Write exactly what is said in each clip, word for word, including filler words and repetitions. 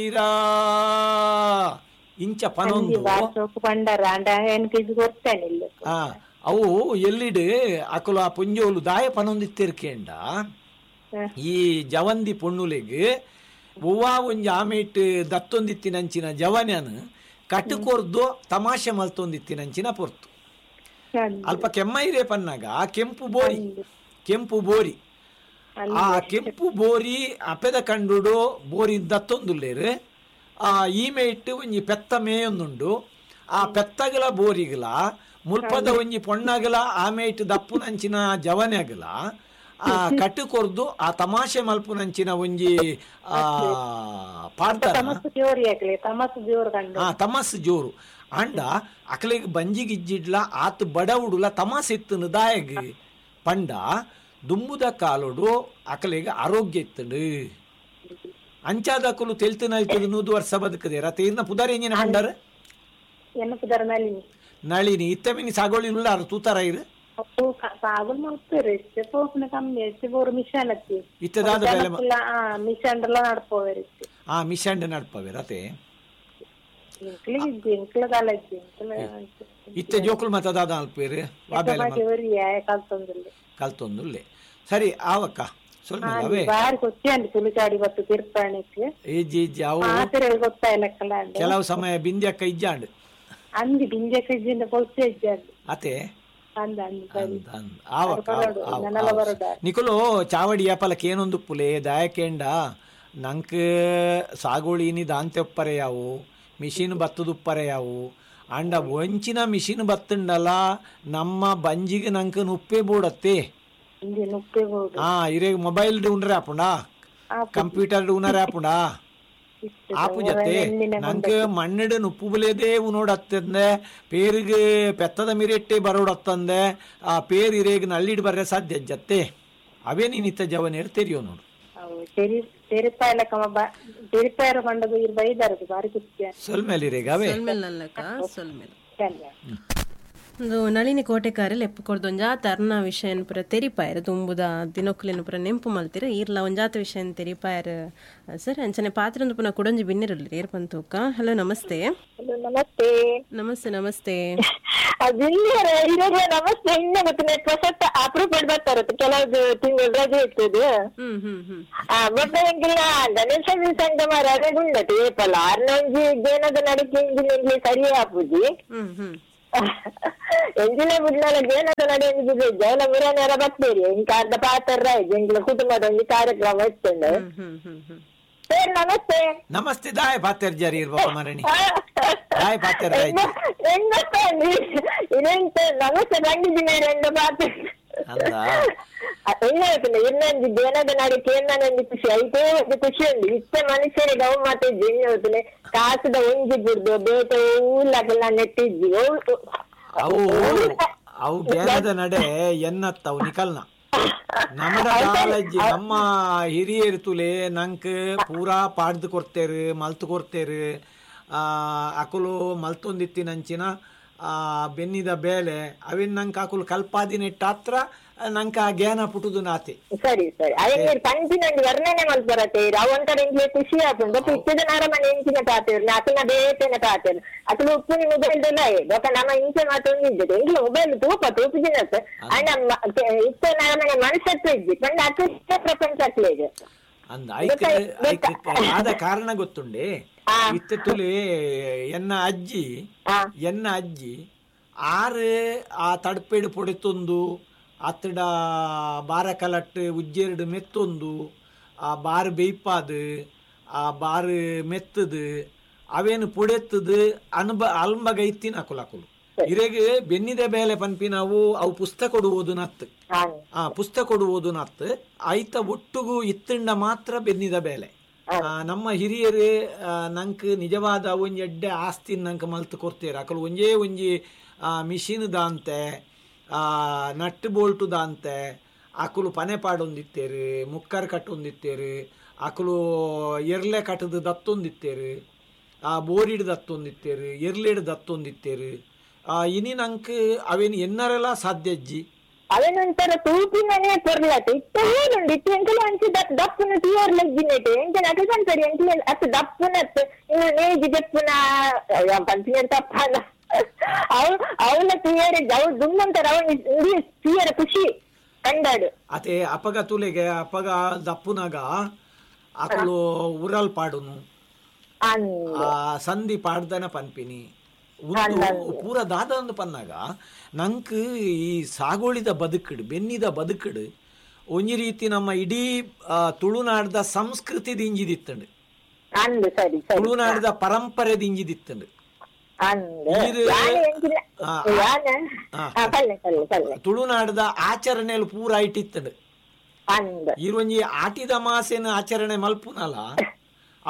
ಮೈರಾ ಇಂಚ ಪನೊಂದು ಪಂಡರ ಅಂಡ ಎನ್ಕ್ ಇದು ಗೊತ್ತೇನೆ ಇಲ್ಲ. ಆ ಅವು ಎಲ್ಲಿಡ್ ಅಕುಲು ಆ ಪೊಂಜೋಲು ದಾಯ ಪನೊಂದಿತ್ತಿರ್ಕೇಂಡ ಈ ಜವಂದಿ ಪೊಣ್ಣುಲೆಗ್ ಒವ್ವಾ ಒಂಜಿ ಆಮೇಟ್ ದತ್ತೊಂದಿತ್ತಿನಂಚಿನ ಜವನ್ಯನ್ ಕಟ್ಟುಕೊರ್ದು ತಮಾಷೆ ಮಲ್ತೊಂದಿತ್ತಿನಂಚಿನ ಪೊರ್ತು. ಅಲ್ಪ ಕೆಮ್ಮೈರೇ ಪನ್ನಾಗ ಆ ಕೆಂಪು ಬೋರಿ ಕೆಂಪು ಬೋರಿ ಆ ಕೆಂಪು ಬೋರಿ ಅಪೆದ ಕಂಡುಡು ಬೋರಿ ದತ್ತೊಂದುಲ್ಲೇರು. ಆ ಈಮೆ ಇಟ್ಟು ಒಂಜಿ ಪೆತ್ತ ಮೇಯೊಂದುಂಡು. ಆ ಪೆತ್ತಗಲ ಬೋರಿಗಲ ಮುಲ್ಪದ ಒಂಜಿ ಪೊಣ್ಣಗಲ ಆಮೆ ಇಟ್ಟು ದಪ್ಪುನಂಚಿನ ಜವನೆಗಲ ಆ ಕಟ್ಟು ಕೊರ್ದು ಆ ತಮಾಷೆ ಮಲ್ಪುನಂಚಿನ ಒಂಜಿ ಆ ಪಾಡ್ತಾರ. ಆ ತಮಾಸು ಜೋರು ಅಂಡ ಅಕಲೆಗ್ ಬಂಜಿಗಿಜ್ಜಿಡ್ಲ ಆತ್ ಬಡವುಡುಲ ತಮಾಸೆ ಇತ್ತನು ದಾಯಗ್ ಪಂಡ ದುಂಬುದ ಕಾಲೋಡು ಅಕಲೆಗ್ ಆರೋಗ್ಯ ಇತ್ತಂಡು. ಅಂಚಾದಕುಲು ತೆಲ್ತು ನಲ್ತದ ನೂದು ವರ್ಷ ಬದುಕದೆ ರತೆ ಇರ್ನ ಪುದಾರಿ ಎಂಜಿನ ಪಂಡಾರ ನಳಿನಿ ನಳಿನಿ ಇತ್ತ ಮಿನಿ ಸಾಗೋಳಿ ಉಲ್ಲಾರ ತೂತಾರ ಇರು ಇತ್ತದಾದ ಆ ಮಿಷನ್ ನಡ್ಪವೆ ರತೆ ಇತ್ತೆ ಜೋಕುಲ್ ಮತ ದಾದ ಅಲ್ಪೇರು ಕಲ್ತೊಂದುಲ್ಲೆ. ಸರಿ ಆವಕ್ಕ ಕೆಲವು ಸಮಯ ಬಿಂದ್ಯಕ್ಕ ಇಜ್ಜಾಂಡ್ ಅತೆ ನಿಕುಲು ಚಾವಡಿ ಯಾಪಲಕ್ಕೆ ಏನೊಂದು ಪುಲೆ ದಾಯಕೇಂಡ ನಂಕ್ ಸಾಗೋಳಿನಿ ದಾಂತೆ ಒಪ್ಪರೆ ಯಾವು ಮಿಷಿನ್ ಬತ್ತದುಪ್ಪರೆ ಯಾವು ಅಂಡ ಒಂಚಿನ ಮಿಷಿನ್ ಬತ್ತುಂಡಲ್ಲ ನಮ್ಮ ಬಂಜಿಗೆ ನಂಕ್ ನುಪ್ಪೆ ಬೋಡತ್ತೆ. ಹಾ ಇರೇ ಮೊಬೈಲ್ ಉಂಡ್ರೆ ಆಪುಂಡಾ ಕಂಪ್ಯೂಟರ್ ಉನರೆ ಆಪುಂಡಾ ಆಪು ಜತೆ ನಂಗೆ ಮಣ್ಣಿಡು ನುಪ್ಪು ಬುಲೇದೇ ಉನೋಡತ್ತಂದೆ ಪೇರಿಗೆ ಪೆತ್ತದ ಮಿರೆಟ್ಟೆ ಬರೋಡತ್ತಂದೆ ಆ ಪೇರ್ ಇರೇಗ್ ನಳ್ಳಿಡ್ ಬರ್ರೆ ಸಾಧ್ಯ ಜತ್ತೆ ಅವೇ ನೀನಿತ್ತ ಜವನೇರು ತೆರಿಯೋ ನೋಡು. ಒಂದು ನಳಿನಿ ಕೋಟೆಕಾರೆ ಲೆಪ್ಪು ಕೊರ್ದು ಒಂಜಾತ ಅರ್ನ ವಿಷಯನ್ ಪುರ ತೆರಿಪಾಯರ್ ದುಂಬುದ ದಿನೊಕ್ಲೆನ್ ಪುರ ನೆಂಪು ಮಲ್ತಿರ ಈರ್ಲ ಒಂಜಾತ ವಿಷಯನ್ ತೆರಿಪಾಯರ್ ಸರ್. ಅಂಚನೆ ಪಾತ್ರಂದು ಪುನಃ ಕುಡೊಂಜಿ ಬಿನ್ನಿರಲ್ರಿ ಏರ್ ಪಂತೂಕ. ಹಲೋ ನಮಸ್ತೆ. ನಮಸ್ತೆ ನಮಸ್ತೆ ನಮಸ್ತೆ. ನಮಸ್ತೆ. ಅಪರೂಪ ಬರ್ತಾರೆ ಕೆಲವು ತಿಂಗಳು ರಜೆ ಇರ್ತದೆ. ಗಣೇಶ ಸಂಘ ರಜೆ ಉಂಡತೆ ಏಪಲ್ಲ ಅರ್ನೊಂಜಿ ಜೇನದ ನಡಿಕೆ ಇಂಜಿನ ಸರಿ ಆಪುಜಿ ಎಂಜಿನ ಬುಡ್ಲಲ ಜೇನದ ನಡೆ ಜೈಲ ಮುರನೆಲ್ಲ ಬರ್ತೀರಿ ಇಂಕ ಅರ್ಧ ಪಾತ್ರ ಎಂಗಿಲ ಕುಟುಂಬದ ಒಂದು ಕಾರ್ಯಕ್ರಮ ಇರ್ತದೆ. ಸರ್ ನಮಸ್ತೆ. ನಮಸ್ತೆ. ದಾಯ ಪಾತ್ರ ಜಾರಿ ಇರ್ಬೇಕು ಮರಣಿ ದಾಯ ಪಾತ್ರ ನಮಸ್ತೆ ಬಂದಿದ್ದೀನಿ ಎರಡು ಪಾತ್ರ ಇನ್ನೊಂದು ಜನದ ನಡಿಕೆ ಒಂಜಿ ಖುಷಿ ಐತೇ ಒಂದು ಖುಷಿ ಉಂಡು. ಇತ್ತ ಮನುಷ್ಯರಿಗೆ ಅವು ಮಾತ ಇಜ್ಜಿ ಕಾಸುದ ಒಂಜಿ ಬುಡ್ದು ಬೇಟೆ ಊಲಗೆಲ್ಲ ನೆಟ್ಟಿಜ್ಜಿ ಅವು ಅವು ಜ್ಞಾನದ ನಡೆ ಎನ್ನತ್ತವು ನಿಕಲ್ನ ನಮ್ಮಡ ಕಾಲಜ್ಜಿ ನಮ್ಮ ಹಿರಿಯರು ತುಲೆ ನಂಕ್ ಪೂರಾ ಪಾಡ್ದು ಕೊಡ್ತೇರು ಮಲ್ತು ಕೊಡ್ತೇರು. ಆ ಅಕುಲು ಮಲ್ತೊಂದಿತ್ತಿನಂಚಿನ ಆ ಬೆನ್ನಿದ ಬೇಲೆ ಅವಿನ ನಂಗೆ ಅಕುಲು ಕಲ್ಪಾದಿನೆಟ್ಟಾತ್ರ ನಂಗೆ ಆ ಜ್ಞಾನ ಪುಟುದು ನಾತೆ. ಸರಿ ಸರಿ ಅದೇ ಪಂಚಿನ ಒಂಜಿ ವರ್ಣನೆ ಮಲ್ಪರತೆ ಅವು ಒಂಥರ ಎಂಕ್ಲೆ ಖುಷಿ ಆಪುಂಡು. ಬೊಕ್ಕ ಇತ್ತೆದ ನರಮನೆ ಎಂಚಿನ ಪಾತೆರು ಅಕಲ್ನ ಬೇತೆನ ಪಾತೆರು ಅಕುಲು ಉಪ್ಪುನಿ ಮೊಬೈಲ್ ದೊಲ ಬೊಕ್ಕ ನಮ್ಮ ಇಂಚೆ ಮಾತೊಂದು ಇದ್ದದೆ ಎಂಕ್ಲೆ ಮೊಬೈಲ್ ತೂಪ ತೂಪುಜಿನತ್ ಅಂಡ ಇತ್ತೆ ನರಮನೆ ಮನಸ್ಸತ್ತು ಇಜ್ಜಿ ಪಂಡ ಅಕುಲು ಪ್ರಪಂಚ ಅಕ್ಲೆಗ್ ಅಂದ ಐಕ್ ಐಕ್ ಆದ ಕಾರಣ ಗೊತ್ತುಂಡೆ. ಇತ್ತೆ ತುಲೆ ಎನ್ನ ಅಜ್ಜಿ ಎನ್ನ ಅಜ್ಜಿ ಆರು ಆ ತಡ್ಪೇಡು ಪೊಡೆತೊಂದು ಅತ್ತಡ ಬಾರ ಕಲಟ್ಟು ಉಜ್ಜೆರಡು ಮೆತ್ತೊಂದು ಆ ಬಾರು ಬೇಯ್ಪಾದು ಆ ಬಾರು ಮೆತ್ತದು ಅವೇನು ಪೊಡೆತ್ತದು ಅನುಬ ಅಲ್ಂಬಗ ಇತ್ತಿನ ಅಕುಲು ಅಕುಲು ಇರೆಗೆ ಬೆನ್ನಿದ ಬೇಲೆ ಪನ್ಪಿ ನಾವು ಅವು ಪುಸ್ತಕ ಕೊಡುವುದು ನತ್ತು ಆ ಪುಸ್ತಕ ಕೊಡುವುದು ನತ್ತು ಐತ ಒಟ್ಟುಗು ಇತ್ತಂಡ ಮಾತ್ರ ಬೆನ್ನಿದ ಬೇಲೆ. ನಮ್ಮ ಹಿರಿಯರು ನಂಕ್ ನಿಜವಾದ ಒಂಜಿ ಎಡ್ಡೆ ಆಸ್ತಿ ನಂಕ್ ಮಲ್ತು ಕೊಡ್ತೇರು. ಅಕಲು ಒಂಜೇ ಒಂಜಿ ಮಿಷಿನ್ ದಾಂತೆ ಆ ನಟ್ಟು ಬೋಲ್ಟು ದಾಂತೆ ಅಕುಲು ಪನೆ ಪಾಡೊಂದಿತ್ತೇರು ಮುಕ್ಕರ್ ಕಟ್ಟೊಂದಿತ್ತೇರು ಅಕುಲು ಎರ್ಲೆ ಕಟ್ಟದು ದತ್ತೊಂದಿತ್ತೇರು ಆ ಬೋರಿಡ್ ದತ್ತೊಂದಿತ್ತೇರು ಎರ್ಲೆಡ್ ದತ್ತೊಂದಿತ್ತೇರು. ಆ ಇನಿ ನಂಕ್ ಅವೇನು ಎನ್ನರೆಲ್ಲ ಸಾಧ್ಯ ಅಜ್ಜಿ. ಅವೇನೊಂಥರ ತೂಪಿನನೇ ಪೊರ್ಲತೆ ಇತ್ತ ಏನುಂಡು ಇತ್ತು ಎಂಕಲ ಅಂಚೆ ದಪ್ ದಪ್ಪುನ ತೂಯರ್ ಲಜ್ಜಿನೆಟ್ ಎಂಚ ನಕಲ್ ಪನ್ಪರಿ ಎಂಕಲ ಅತ್ತು ದಪ್ಪುನತ್ ಇನ್ನು ನೇಜಿ ದಪ್ಪುನ ಪನ್ಪಿನ ತಪ್ಪನ ಅವು ಅವನ ತೂಯರ್ ಅವು ದುಮ್ಮಂತರ ಅವನ ತೂಯರ ಖುಷಿ ಕಂಡಾಡು. ಅತೆ ಅಪಗ ತುಲೆಗೆ ಅಪಗ ದಪ್ಪುನಾಗ ಅಕುಲು ಉರಲ್ ಪಾಡುನು ಆ ಸಂಧಿ ಪಾಡ್ದನ ಪನ್ಪಿನಿ ಪೂರ ದಾದ ಅಂದು ಪನ್ನಾಗ ನಂಕ್ ಈ ಸಾಗೋಳಿದ ಬದುಕಡು ಬೆನ್ನಿದ ಬದುಕಡು ಒಂಜಿ ರೀತಿ ನಮ್ಮ ಇಡೀ ತುಳುನಾಡ್ದ ಸಂಸ್ಕೃತಿ ದಿಂಜಿದಿತ್ತಂಡು, ತುಳುನಾಡ್ದ ಪರಂಪರೆ ದಿಂಜಿದಿತ್ತಂಡು. ತುಳುನಾಡ್ದ ಆಚರಣೆಯಲ್ಲಿ ಪೂರ ಇಟ್ಟಿತ್ತಂಡು. ಈ ಒಂಜಿ ಆಟಿದ ಮಾಸೇನ ಆಚರಣೆ ಮಲ್ಪುನಲ್ಲ,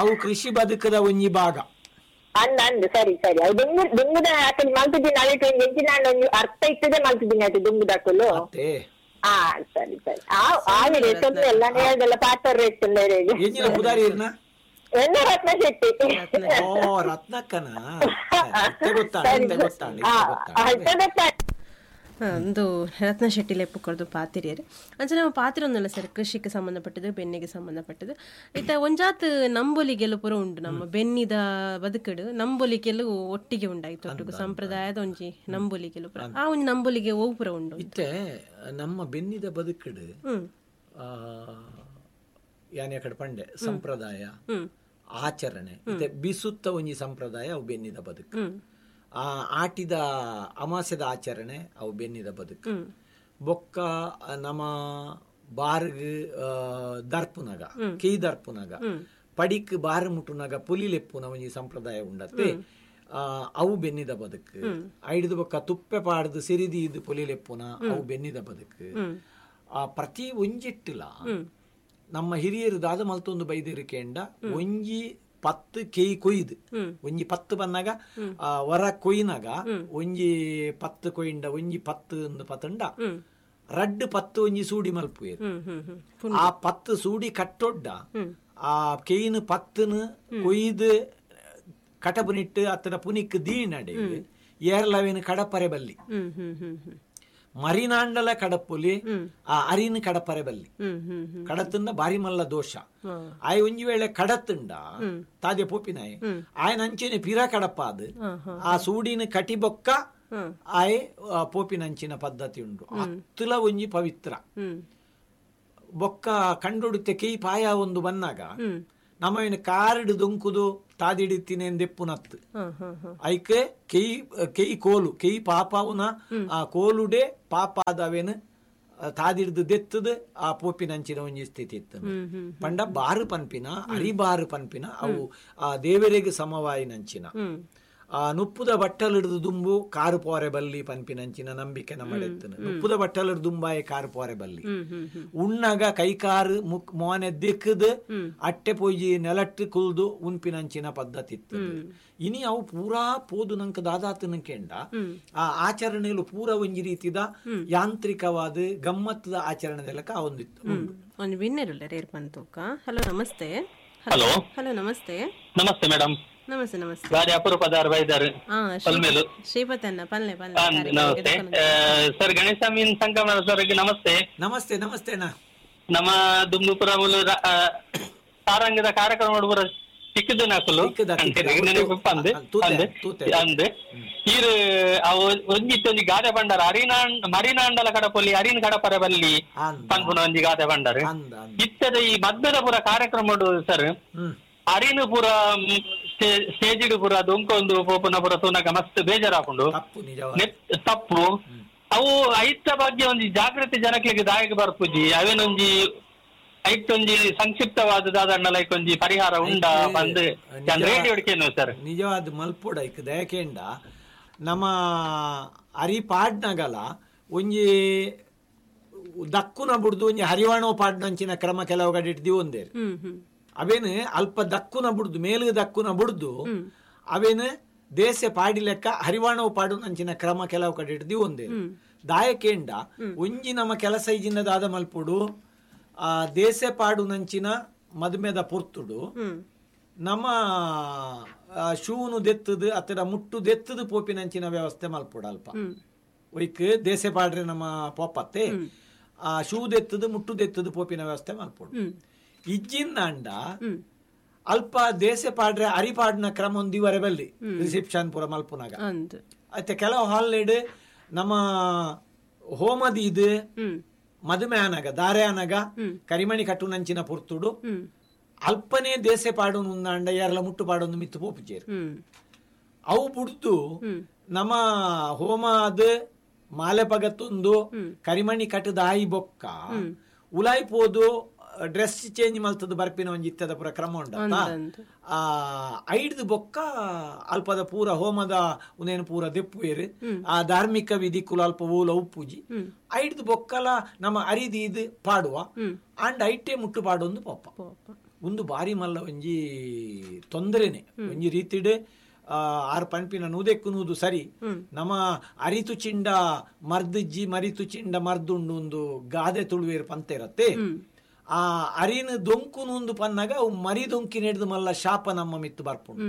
ಅವು ಕೃಷಿ ಬದುಕದ ಒಂಜಿ ಭಾಗ. ಅಂದ ಅಂದ್ ಸರಿ ಸರಿ. ಅವು ದುಂಬು ದುಂಬುದ ಅಕಲ್ ಮಲ್ತಿದ್ದೀನಿ ಅಳಿಟ್ ಒಂಜಿ ಎಂಚಿನ ಒಂಜಿ ಅರ್ಥ ಇತ್ತದೆ ಮಲ್ತಿದ್ದೀನಿ ಅದು ದುಂಬುದಕುಲು. ಹಾ ಸರಿ ಸರಿ. ಆ ಆವಿದೆ ತೊಂದ್ರೆ ಎಲ್ಲ ಹೇಳ್ದಲ್ಲ ಪಾತ್ರ ಎಂಜಿನ ಪುದಾರಿ ಇರ್ನ ಎನ್ನ ರತ್ನ ಶೆಟ್ಟಿ. ಓ ರತ್ನಕ್ಕನ ಗೊತ್ತಾಡ ಗೊತ್ತಾಡ. ಒಂದು ರತ್ನ ಶೆಟ್ಟಿ ಲೆಪ್ಪು ಕೊರದು ಪಾತಿರಿಯರು ಅಂಚೆ ನಮ್ಮ ಪಾತ್ರೆ ಒಂದಲ್ಲ ಸರ್, ಕೃಷಿಗೆ ಸಂಬಂಧಪಟ್ಟದ್ದು ಬೆನ್ನಿಗೆ ಸಂಬಂಧಪಟ್ಟದ್ದು. ಇತ್ತ ಒಂಜಾತ್ ನಂಬೊಲಿಗೆಲ್ಲ ಪೂರ ಉಂಟು ನಮ್ಮ ಬೆನ್ನಿದ ಬದುಕಡು ನಂಬೊಲಿಗೆಲ್ಲ ಒಟ್ಟಿಗೆ ಉಂಡಾಯ್ತು ಒಟ್ಟಿಗೆ ಸಂಪ್ರದಾಯದ ಒಂಜಿ ನಂಬೊಲಿಗೆಲ್ಲ ಪೂರ ಆ ಒಂಜಿ ನಂಬೊಲಿಗೆ ಓ ಪೂರ ಉಂಟು. ಇತ್ತೆ ನಮ್ಮ ಬೆನ್ನಿದ ಬದುಕಡು ಯಾನೆ ಕಡೆ ಪಂಡೆ ಸಂಪ್ರದಾಯ ಆಚರಣೆ ಇತ್ತೆ ಬಿಸುತ್ತ ಒಂಜಿ ಸಂಪ್ರದಾಯ ಅವು ಬೆನ್ನಿದ ಬದುಕು. ಆ ಆಟಿದ ಅಮಾಸ್ಯದ ಆಚರಣೆ ಅವು ಬೆನ್ನಿದ ಬದುಕು. ಬೊಕ್ಕ ನಮ್ಮ ಬಾರ್ಗ್ ದರ್ಪುನಗ ಕೈ ದರ್ಪುನಗ ಪಡಿಕ್ ಬಾರ್ ಮುಟ್ಟುನಗ ಪುಲಿಲೆಪ್ಪುನ ಒಂಜಿ ಸಂಪ್ರದಾಯ ಉಂಡತ್ತೆ, ಅವು ಬೆನ್ನಿದ ಬದುಕು. ಐಡ್ದು ಬೊಕ್ಕ ತುಪ್ಪೆ ಪಾಡ್ದು ಸಿರಿದಿ ಇದು ಪುಲಿಲೆಪ್ಪುನ ಅವು ಬೆನ್ನಿದ ಬದುಕು. ಆ ಪ್ರತಿ ಒಂಜಿಟ್ಟುಲ ನಮ್ಮ ಹಿರಿಯರು ದಾದ ಮಲ್ತೊಂದು ಬೈದಿರಿಕೆಂಡ ಒಂಜಿ ಪತ್ತು ಕೇಯಿ ಕೊಯ್ದು ಒಂಜಿ ಪತ್ತು ಬಂದಾಗ ವರ ಕೊಯ್ನಾಗ ಒಂಜಿ ಪತ್ತು ಕೊಯ್ಂಡ ಒಂಜಿ ಪತ್ತು ಒಂದು ಪತ್ತಂಡ ರಡ್ಡು ಪತ್ತು ಒಂಜಿ ಸೂಡಿ ಮಲ್ಪುವೇರು. ಆ ಪತ್ತು ಸೂಡಿ ಕಟ್ಟೊಡ್ಡ ಆ ಕೇಯಿನ ಪತ್ತನು ಕೊಯ್ದು ಕಟಪುನಿಟ್ಟು ಅತ್ತನ ಪುನಿಕ್ ದೀನಡೆ ಏರ್ಲವೇನು ಕಡಪರೆ ಬಲ್ಲಿ ಮರಿನಾಂಡಲ ಕಡಪುಲಿ ಆ ಅರಿನ ಕಡಪರೆ ಬಲ್ಲಿ ಕಡತುಂಡ ಬಾರಿ ಮಲ್ಲ ದೋಷ. ಆಯ್ ಒಂಜಿ ವೇಳೆ ಕಡತುಂಡ ತಾದೆ ಪೋಪಿನಾಯ್ ಆಯನ ಅಂಚೆನೆ ಪಿರ ಕಡಪಾದು ಆ ಸೂಡಿನ ಕಟಿಬೊಕ್ಕ ಆಯ್ ಪೋಪಿನಂಚಿನ ಪದ್ಧತಿ ಉಂಡು. ಅತ್ತುಲ ಒಂಜಿ ಪವಿತ್ರ ಬೊಕ್ಕ ಕಂಡುಡುತ್ತೆ ಕೈ ಪಾಯ ಒಂದು ಬನ್ನಾಗ ನಮ್ಮವಿನ ಕಾರಡು ದೊಂಕುದು ತಾದಿಡಿತೀನಿ ಎಂದೆಪ್ಪುನತ್ತು ಐಕೆ ಕೈ ಕೈ ಕೋಲು ಕೈ ಪಾಪವುನ ಆ ಕೋಲುಡೆ ಪಾಪಾದವೇನು ತಾದಿಡ್ದು ದೆತ್ತದು ಆ ಪೋಪಿನಂಚಿನ ಒಂಜಿ ಸ್ಥಿತಿ ಇತ್ತು. ಪಂಡ ಬಾರು ಪನ್ಪಿನ ಅರಿಬಾರು ಪನ್ಪಿನ ಅವು ಆ ದೇವರಿಗೆ ಸಮವಾಯಿನಂಚಿನ ಆ ನುಪ್ಪುದ ಬಟ್ಟಲಿಡ್ದು ದುಂಬು ಕಾರು ಪೋರೆ ಬಲ್ಲಿ ಪನ್ಪಿನಂಚಿನ ನಂಬಿಕೆ ನಮ್ಮಡೆತ್ತನು. ನುಪ್ಪುದ ಬಟ್ಟಲಿಡ್ದು ದುಂಬಾಯ ಕಾರು ಪೋರೆ ಬಲ್ಲಿ ಉಣ್ಣಾಗ ಕೈಕಾರು ಮುಕ್ ಮೋನೆ ದಿಕ್ಕದು ಅಟ್ಟೆ ಪೊಯ್ಯಿ ನೆಲಟ್ಟು ಕುಲ್ದು ಉನ್ಪಿನಂಚಿನ ಪದ್ಧತಿ ಇತ್ತು. ಇನಿ ಅವು ಪೂರಾ ಪೋದು ನಂಕ ದಾದಾತನ ಕೆಂಡ ಆ ಆಚರಣೆಯಲ್ಲೂ ಪೂರ ಒಂಜಿ ರೀತಿದ ಯಾಂತ್ರಿಕವಾದ ಗಮ್ಮತ್ತದ ಆಚರಣೆದೆಲ್ಲಕ ಒಂದಿತ್ತು. ಒಂದು winner hello namaste. Hello hello namaste. Namaste madam. Namaste namaste. ಗಾಡಿ ಅಪರೂಪದಾರ್ ಬೈದಾರ್ ಪಲ್ಮೇಲು ಶ್ರೀಪತನ್ನ ಪಲ್ಲೆ ಪಲ್ಲೆ. ನಮಸ್ತೆ ಸರ್, ಗಣೇಶ ಮೀನ್ ಸಂಗಮ ಸರ್ ನಮಸ್ತೆ. ನಮಸ್ತೆ ನಮಸ್ತೆ ಅಣ್ಣ. ನಮ್ಮ ದುಂಬುಪುರ ಸಾರಂಗದ ಕಾರ್ಯಕ್ರಮ ಪೂರ ಚಿಕ್ಕದು ನಾಕುಲು ಅಂದ್ ಈರು ಅವು ಒಂಜಿತ್ತು ಒಂಜಿ ಗಾದೆ ಬಂಡಾರ ಅರಿನಾಂಡ್ ಮರಿನಾಂಡಲ ಕಡಪೊಲಿ ಅರಿನ ಕಡಪರ ಬಲ್ಲಿ ಪನ್ಪುನ ಒಂಜಿ ಗಾದೆ ಬಂಡಾರ ಇತ್ತದ ಈ ಮದ್ಮೆದ ಪೂರ ಕಾರ್ಯಕ್ರಮ ಸರ್ ಅರಿನು ಪೂರ ಸ್ಟೇಜ್ ಪೂರ ದೊಂಕೊಂದು ಪೋಪುನ ಪೂರ ತೂನಗ ಮಸ್ತ್ ಬೇಜಾರಾಪುಂಡು ತಪ್ಪು. ಅವು ಐತ ಬಗ್ಗೆ ಒಂಜಿ ಜಾಗೃತಿ ಜನಕ್ಲೆಗ್ ದಾಯಕ ಬರ್ಪುಜಿ ಅವೇನೊಂಜಿ ಐತೊಂಜಿ ಸಂಕ್ಷಿಪ್ತವಾದ ದಾದಣ್ಣ ಲೈಕ್ ಒಂಜಿ ಪರಿಹಾರ ಉಂಡ ಬಂದು ರೇಡಿಯೋ ಕೇನು ಸರ್ ನಿಜವಾದ ಮಲ್ಪೋಡ ಐಕ್ ದಯಕೇಂಡ ನಮ್ಮ ಅರಿ ಪಾಡ್ನಗಲ ಒಂಜಿ ದಕ್ಕುನ ಬುಡ್ದು ಒಂಜಿ ಹರಿವಾಣೋ ಪಾಡ್ನಂಚಿನ ಕ್ರಮ ಕೆಲವು ಕಡೆ ಇಡ್ದಿ ಒಂದೇ ಅವೇನು ಅಲ್ಪ ದಕ್ಕುನ ಬುಡ್ದು ಮೇಲು ದಕ್ಕುನ ಬುಡ್ದು ಅವೇನು ದೇಶ ಪಾಡಿ ಲೆಕ್ಕ ಹರಿವಾಣವು ಪಾಡು ನಂಚಿನ ಕ್ರಮ ಕೆಲವು ಕಡೆ ಇಡ್ದಿ ಒಂದೇ ದಾಯಕೇಂಡ ಒಂಜಿ ನಮ್ಮ ಕೆಲಸ ಇಜಿನ ದಾದ ಮಲ್ಪುಡು ಆ ದೇಶ ಪಾಡು ನಂಚಿನ ಮದುಮೆದ ಪೊರ್ತುಡು ನಮ್ಮ ಶೂನು ದೆತ್ತದು ಅತ್ತಡ ಮುಟ್ಟು ದೆತ್ತದು ಪೋಪಿನಂಚಿನ ವ್ಯವಸ್ಥೆ ಮಲ್ಪುಡು ಅಲ್ಪ ಒಯ್ಕ್ ದೇಸೆ ಪಾಡ್ರೆ ನಮ್ಮ ಪೋಪತ್ತೆ ಆ ಶೂದೆತ್ತದು ಮುಟ್ಟುದೆತ್ತದು ಪೋಪಿನ ವ್ಯವಸ್ಥೆ ಮಲ್ಪೊಡು. ಇಜ್ಜಿಂದಾಂಡ ಅಲ್ಪ ದೇಸೆ ಪಾಡ್ರೆ ಅರಿಪಾಡ್ನ ಕ್ರಮ ಒಂದಿವರೆ ಬಲ್ಲಿ ರಿಸೆಪ್ಷನ್ ಪೂರ ಮಲ್ಪುನಾಗ. ಅತ್ತೆ ಕೆಲವು ಹಾಲ್ಲೆಡ್ ನಮ್ಮ ಹೋಮದೀದ್ ಮದುವೆ ಆನಗ ದಾರೆ ಆನಗ ಕರಿಮಣಿ ಕಟ್ಟುನಂಚಿನ ಪೊರ್ತುಡು ಅಲ್ಪನೇ ದೇಸೆ ಪಾಡೋನು ಅಂಡ ಯಾರೆಲ್ಲ ಮುಟ್ಟು ಪಾಡೊಂದು ಮಿತ್ತು ಪೋಪುಜೇರು. ಅವು ಬುಡ್ದು ನಮ್ಮ ಹೋಮದ ಮಾಲೆ ಪಗತ್ತೊಂದು ಕರಿಮಣಿ ಕಟ್ಟದ ಆಯಿ ಬೊಕ್ಕ ಉಲಾಯಿ ಪೋದು ಡ್ರೆಸ್ ಚೇಂಜ್ ಮಲ್ತದ ಬರ್ಪಿನ ಒಂಜಿ ಇತ್ತದ ಪೂರ ಕ್ರಮ ಉಂಡ. ಆ ಐಡ್ದು ಬೊಕ್ಕ ಅಲ್ಪದ ಪೂರ ಹೋಮದ ಉನೇನು ಪೂರ ದೆಪ್ಪುವೇರು ಆ ಧಾರ್ಮಿಕ ವಿಧಿ ಕುಲ ಅಲ್ಪ ಓಲ ಉಪ್ಪುಜಿ ಐಡ್ದು ಬೊಕ್ಕಲ ನಮ್ಮ ಅರಿದೀದ್ ಪಾಡುವ ಅಂಡ್ ಐಟೆ ಮುಟ್ಟು ಪಾಡೊಂದು ಪೋಪ. ಒಂದು ಬಾರಿ ಮಲ್ಲ ಒಂಜಿ ತೊಂದರೆನೆ ಒಂಜಿ ರೀತಿಡ್ ಆರು ಪನ್ಪಿನ ನೂದೆಕ್ಕು ನೂದು ಸರಿ. ನಮ್ಮ ಅರಿತು ಚಿಂಡ ಮರ್ದಿಜ್ಜಿ ಮರಿತು ಚಿಂಡ ಮರ್ದುಂಡು ಒಂದು ಗಾದೆ ತುಳುವೇರು ಪಂತೆ ಇರತ್ತೆ. ಆ ಅರಿನ ದೊಂಕು ನೂಂದು ಪನ್ನಾಗ ಅವು ಮರಿ ದೊಂಕಿ ನೆಡ್ದು ಮಲ್ಲ ಶಾಪ ನಮ್ಮ ಮಿತ್ತು ಬರ್ಪುಂಡು.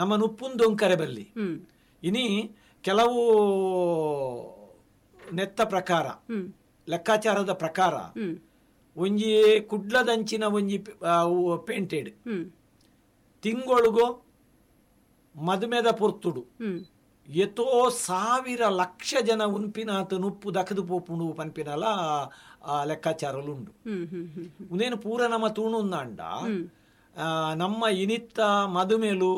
ನಮ್ಮ ನುಪ್ಪುನ್ ದೊಂಕರೆ ಬಲ್ಲಿ. ಇನಿ ಕೆಲವು ನೆತ್ತ ಪ್ರಕಾರ ಲೆಕ್ಕಾಚಾರದ ಪ್ರಕಾರ ಒಂಜಿ ಕುಡ್ಲದಂಚಿನ ಒಂಜಿ ಪೇಂಟೆಡ್ ತಿಂಗೊಳುಗೋ ಮದುಮೆದ ಪೊರ್ತುಡು ಎತೋ ಸಾವಿರ ಲಕ್ಷ ಜನ ಉನ್ಪಿನಾತ ನುಪ್ಪು ದಕದು ಪೋಪುಂಡು ಪನ್ಪಿನಲ ಲೆಕ್ಕಾಚಾರಲು ಉಂಡು. ಉನೇನು ಪೂರ ನಮ್ಮ ತೂಣುಂದಾಂಡ ನಮ್ಮ ಇನಿತ್ತ ಮದುಮೇಲು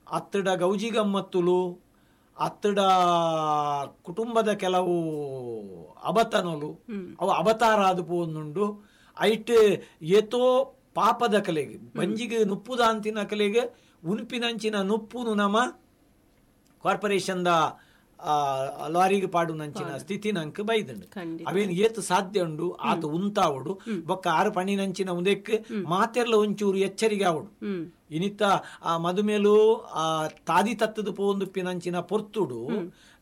ಅತ್ತಡ ಗೌಜಿ ಗಮ್ಮತ್ತುಲು ಅತ್ತಡ ಕುಟುಂಬದ ಕೆಲವು ಅಬತನಲು ಅವು ಅವತಾರ ಆದು ಪೋಂದುಂಡು. ಐಟ್ ಏತೋ ಪಾಪದ ಕಲೆಗೆ ಬಂಜಿಗೆ ನುಪ್ಪುದಾಂತಿನ ಕಲೆಗೆ ಉನ್ಪಿನಂಚಿನ ನುಪ್ಪುನು ನಮ್ಮ ಕಾರ್ಪೊರೇಷನ್ದ ಲಾರಿಗೆ ಪಾಡುನಂಚಿನ ಸ್ಥಿತಿ ನಂಕ್ ಬೈದಂಡು. ಅವೇನು ಏತು ಸಾಧ್ಯ ಉಂಡು ಆತ ಉಂತಾವಡು ಬೊಕ್ಕ ಆರು ಪಣಿನಂಚಿನ ಉಂದೆಕ್ ಮಾತೆರ್ಲ ಒಂಚೂರು ಎಚ್ಚರಿಗೆ ಆವಡು. ಇನಿತ್ತ ಆ ಮದುಮೇಲು ಆ ತಾದಿ ತತ್ತದ ಪೋಂದುಪ್ಪಿನಂಚಿನ ಪೊರ್ತುಡು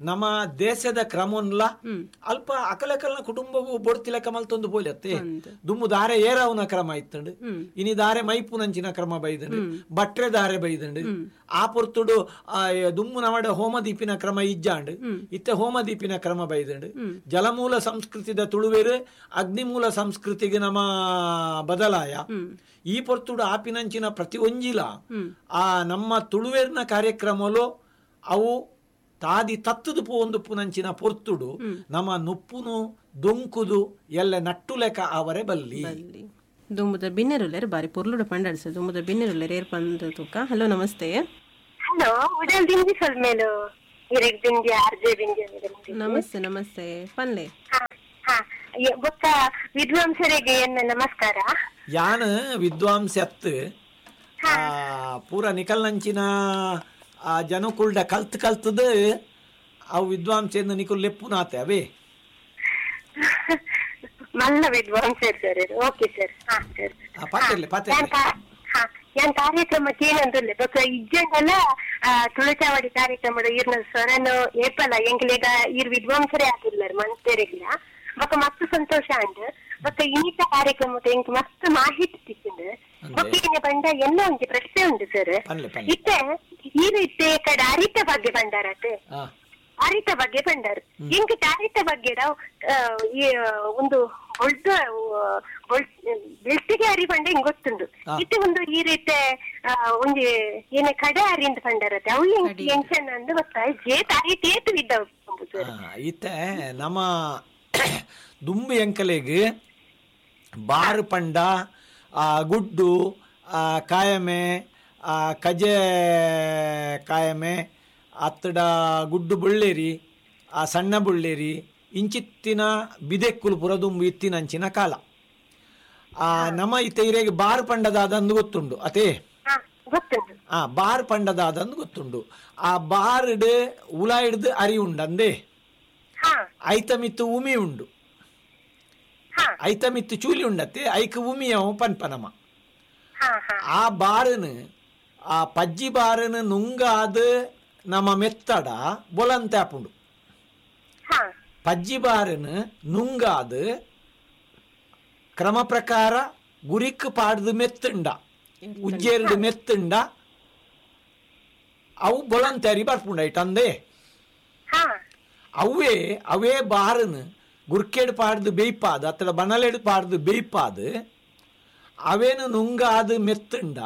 ನಮ್ಮ ದೇಶದ ಕ್ರಮನ್ಲ ಅಲ್ಪ ಅಕಲಕಲ್ನ ಕುಟುಂಬವು ಬೊಡ್ತಿಲೆಕ್ಕ ಮಲ್ತೊಂದು ಪೋಲತ್ತೆ. ದುಮ್ಮು ದಾರೆ ಏರಾವುನ ಕ್ರಮ ಇತ್ತಂಡು, ಇನಿ ದಾರೆ ಮೈಪುನಂಚಿನ ಕ್ರಮ ಬೈದಂಡು, ಬಟ್ರೆ ದಾರೆ ಬೈದಂಡು. ಆ ಪೊರ್ತುಡು ದುಮ್ಮು ನಮಡ ಹೋಮದೀಪಿನ ಕ್ರಮ ಇಜ್ಜಾಂಡು, ಇತ್ತ ಹೋಮದೀಪಿನ ಕ್ರಮ ಬೈದಂಡು. ಜಲಮೂಲ ಸಂಸ್ಕೃತಿದ ತುಳುವೇರು ಅಗ್ನಿಮೂಲ ಸಂಸ್ಕೃತಿಗೆ ನಮ್ಮ ಬದಲಾಯ. ಈ ಪೊರ್ತುಡು ಆಪಿನಂಚಿನ ಪ್ರತಿ ಒಂಜಿಲ ಆ ನಮ್ಮ ತುಳುವೇರ್ನ ಕಾರ್ಯಕ್ರಮಲು ಅವು ತಾದಿ ತತ್ತದು ಪೋಂದು ಪುನಂಚಿನ ಪೊರ್ತುಡು ನಮ್ಮ ನುಪ್ಪುನು ದೊಂಕುದು ಎಲ್ಲ ನಟ್ಟುಲೆಕ ಅವರೇ ಬಲ್ಲಿ. ದುಂಬುದ ಬಿನ್ನೆರುಲ್ಲೇರು ಬಾರಿ ಪೊರ್ಲುಡು ಪಂಡಾಡ್ಸ ದುಂಬುದ ಬಿನ್ನೆರುಲ್ಲೇರು ಏರ್ ಪಂದು ತೂಕ. ಹಲೋ ನಮಸ್ತೆ. ಹಲೋ ಉಡಲ್ ದಿಂಜಿ ಸೊಲ್ಮೇಲು ಇರೆಗ್ ದಿಂಜಿ ಆರ್ಜೆ ದಿಂಜಿ. ನಮಸ್ತೆ ನಮಸ್ತೆ ಪನ್ಲೆ. ಬೊಕ್ಕ ವಿದ್ವಾಂಸರಿಗೆ ನಮಸ್ಕಾರ. ಯಾನ್ ವಿದ್ವಾಂಸ ಅತ್ ಪೂರ ನಿಕಲ್ನಂಚಿನ ಆ ಜನಕುಲ್ಡ ಕಲ್ತ್ ಕಲ್ತದ ಅವು ವಿದ್ವಾಂಸೆಂದು ನಿಕುಲ್ ಲೆಪ್ಪುನಾತೆ ಅವೇ ಮಲ್ಲ ವಿದ್ವಾಂಸರು sir. Okay sir. ಹಾ ಸರ್ ಪಾತೆರ್ಲೆ ಪಾತೆರ್ಲೆ. ಹಾ ಯಾನ್ ಕಾರ್ಯಕ್ರಮಕ್ಕೆ ಏನಂದುಲ್ಲೆ ಬೊಕ್ಕ ಇಜ್ಜಂಡಲ ತುಳುಚಾವಡಿ ಕಾರ್ಯಕ್ರಮದ ಈರ್ನ ಸ್ವರನು ಏಪಲ ಎಂಕ್ಲೆಗ ಈರ್ ವಿದ್ವಾಂಸರೇ ಆದಿಲ್ಲರ್ ಮನ್ಸೆರೆಗ್ಲ ಬೊಕ್ಕ ಮಸ್ತ್ ಸಂತೋಷ ಅಂಡ್ ಬೊಕ್ಕ ಇನ್ನಿತ ಕಾರ್ಯಕ್ರಮದ ಎಂಕ್ ಮಸ್ತ್ ಮಾಹಿತಿ ತಿಕ್ಕಿಂಡು. ಬೊಕ್ಕ ಏನೆ ಪಂಡ ಎಲ್ಲ ಒಂಜಿ ಪ್ರಶ್ನೆ ಉಂಡು ಸರ್. ಇತ್ತೆ ಈರ್ ಇತ್ತೆ ಕಡೆ ಅರಿತ ಬಗ್ಗೆ ಬಂಡಾರತೆ ಅರಿತ ಬಗ್ಗೆ ಬಂಡಾರು ಎಂಕ್ ಅರಿತ ಬಗ್ಗೆ ಈ ಒಂದು ಬೊಳ್ದು ಬೆಳ್ತಿಗೆ ಅರಿ ಪಂಡ ಹಿಂಗ್ ಗೊತ್ತುಂಡು. ಇತ್ತೆ ಒಂದು ಈ ರೀತಿ ಒಂಜಿ ಏನೇ ಕಡೆ ಅರಿ ಅಂತ ಪಂಡಾರತೆ ಅವು ಎಂಚನ ಅಂದ್ ಗೊತ್ತಾ ಜೇತ್ ಅರಿತ ಏತು ಇದ್ದಾವ ಸರ್. ಇತ್ತೆ ನಮ್ಮ ದುಂಬು ಎಂಕಲೆಗ್ ಬಾರು ಪಂಡ ಆ ಗುಡ್ಡು ಆ ಕಾಯಮೆ ಆ ಕಜೆ ಕಾಯಮೆ ಅತ್ತಡ ಗುಡ್ಡು ಬುಳ್ಳೇರಿ ಆ ಸಣ್ಣ ಬುಳ್ಳೇರಿ ಇಂಚಿತ್ತಿನ ಬಿದೆಕ್ಕುಲು ಪುರ ದುಂಬು ಇತ್ತಿನಂಚಿನ ಕಾಲ. ಆ ನಮ್ಮ ಇತ್ತೆ ಇರೆಗೆ ಬಾರು ಪಂಡದಾದಂದು ಗೊತ್ತುಂಡು ಅತೇ. ಆ ಬಾರ್ ಪಂಡದಾದಂದು ಗೊತ್ತುಂಡು. ಆ ಬಾರ್ಡ್ ಉಲ ಹಿಡ್ದು ಅರಿ ಉಂಡಂದೆ ಐತಮಿತ್ತು ಉಮಿ ಉಂಡು ಐತಮಿತ್ತು ಚೂಲಿ ಉಂಡತ್ತೆ ಐಕ್ ಉಮಿಯವು ಪನ್ಪನಮ. ಆ ಬಾರನು ಆ ಪಜ್ಜಿ ಬಾರನು ನುಂಗಾದ ನಮ್ಮ ಮೆತ್ತಡ ಬೊಲಂತೆ ಆಪುಂಡು. ಪಜ್ಜಿ ಬಾರನು ನುಂಗಾದ ಕ್ರಮ ಪ್ರಕಾರ ಗುರಿಕ್ ಪಾಡ್ದು ಮೆತ್ತುಂಡ ಉಜ್ಜೇರ್ಡು ಮೆತ್ತುಂಡ ಅವು ಬೊಲಂತೆ ಅರಿ ಬರ್ಪುಂಡ ಐಟಂದೆ. ಅವೇ ಅವೇ ಬಾರನು ಗುರ್ಕೆಡ್ ಪಾಡ್ದು ಬೇಯ್ಪಾದ ಅಥವಾ ಬನಲೆಡ್ ಪಾಡ್ದು ಬೇಯ್ಪಾದ ಅವೇನು ನುಂಗಾದ ಮೆತ್ತುಂಡ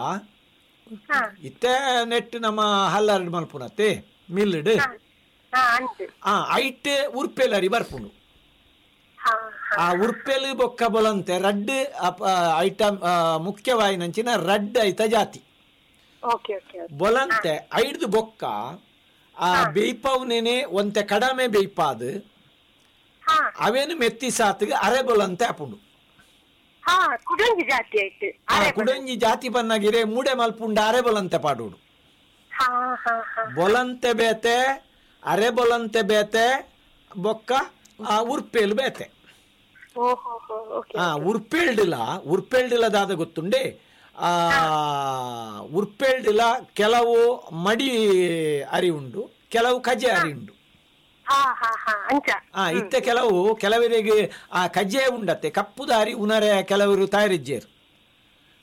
ಇತ್ತೆ ನೆಟ್ ನಮ್ಮ ಹಲ್ಲರಡ್ ಮಲ್ಪುನತ್ತೆ ಮಿಲ್ಡ್ ಆ ಐಟ್ ಉರ್ಪೆಲರಿ ಬರ್ಪುಂಡು. ಆ ಉರ್ಪೆಲು ಬೊಕ್ಕ ಬೊಲಂತೆ ರಡ್ಡ್ ಐಟಮ್ ಮುಖ್ಯವಾಯಿನಂಚಿನ ರಡ್ಡ್ ಐತ ಜಾತಿ ಬೊಲಂತೆ ಐಡ್ದು ಬೊಕ್ಕ ಆ ಬೇಯ್ಪವ್ನೇನೆ ಒಂತೆ ಕಡಮೆ ಬೇಯ್ಪಾದ್ ಅವೇನು ಮೆತ್ತಿ ಸಾತಿಗೆ ಅರೆ ಬೊಲಂತೆ ಆಪುಂಡು. ಕುಡೊಂಜಿ ಜಾತಿ ಬನ್ನಾಗಿರೆ ಮೂಡೆ ಮಲ್ಪುಂಡ ಅರೆ ಬೊಲಂತೆ ಪಾಡೋಡು. ಬೊಲಂತೆ ಬೇತೆ ಅರೆ ಬೊಲಂತೆ ಬೇತೆ ಬೊಕ್ಕ ಆ ಉರ್ಪೇಲು ಬೇತೆ. ಆ ಉರ್ಪೇಲ್ಡಿಲ ಉರ್ಪೇಲ್ಡಿಲ ದಾದ ಗೊತ್ತುಂಡೆ ಆ ಉರ್ಪೇಲ್ಡಿಲ ಕೆಲವು ಮಡಿ ಅರಿ ಉಂಡು ಕೆಲವು ಕಜೆ ಅರಿ ಉಂಡು. ಆ ಇತ್ತೆ ಕೆಲವು ಕೆಲವರಿಗೆ ಆ ಕಜೆ ಉಂಡತ್ತೆ ಕಪ್ಪು ದಾರಿ ಉನರೆ ಕೆಲವರು ತಯಾರಿಜ್ಜೇರು.